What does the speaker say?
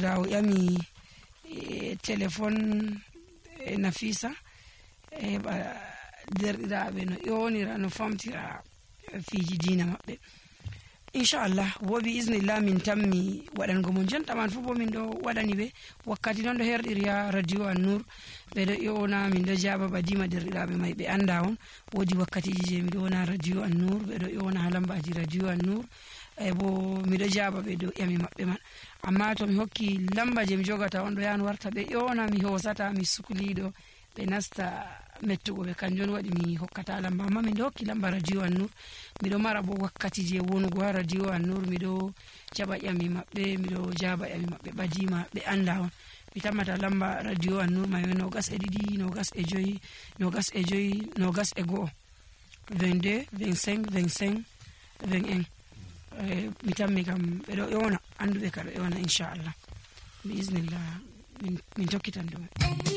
rawo yami téléphone Nafisa derɗiraɓe no ƴonira no famtira fiji dina maɓɓe. Inchallah wo bi iznillah min tammi waɗango mo jonta man fu bo min ɗo waɗani ɓe wakkati non ɗo herɗiri ha radio An-Nur ɓe ɗo ƴona min ɗo jaba badima derɗiraɓe mai ɓe anda on wodi wakkatiji je mi ɗo wona radio An-Nur ɓe ɗo ƴona ha lambaji radio An-Nur bo mi ɗo jaba ɓe ɗo ƴami maɓɓe man, amma to mi hokki lamba je mi jogata on ɗo yan warta ɓe ƴona mi hosata mi sukliɗo ɓe nasta mettugo ɓe, kanjum waɗi mi hokkata lamba, amma min ɗo hokki lamba radio An-Nur. Miɗo mara bo wakkati je wonugo ha radio An-Nur miɗo jaɓa ƴami maɓɓe, miɗo jaba ƴami maɓɓe badima ɓe anda on. Mi tammata lamba radio An-Nur mai 22 25 25 21 22 25 25 21 mi tammi kam ɓe ɗo ƴona anduɓe ka ɗo ƴona inchallah bi iznillah min tokkitan ɗum.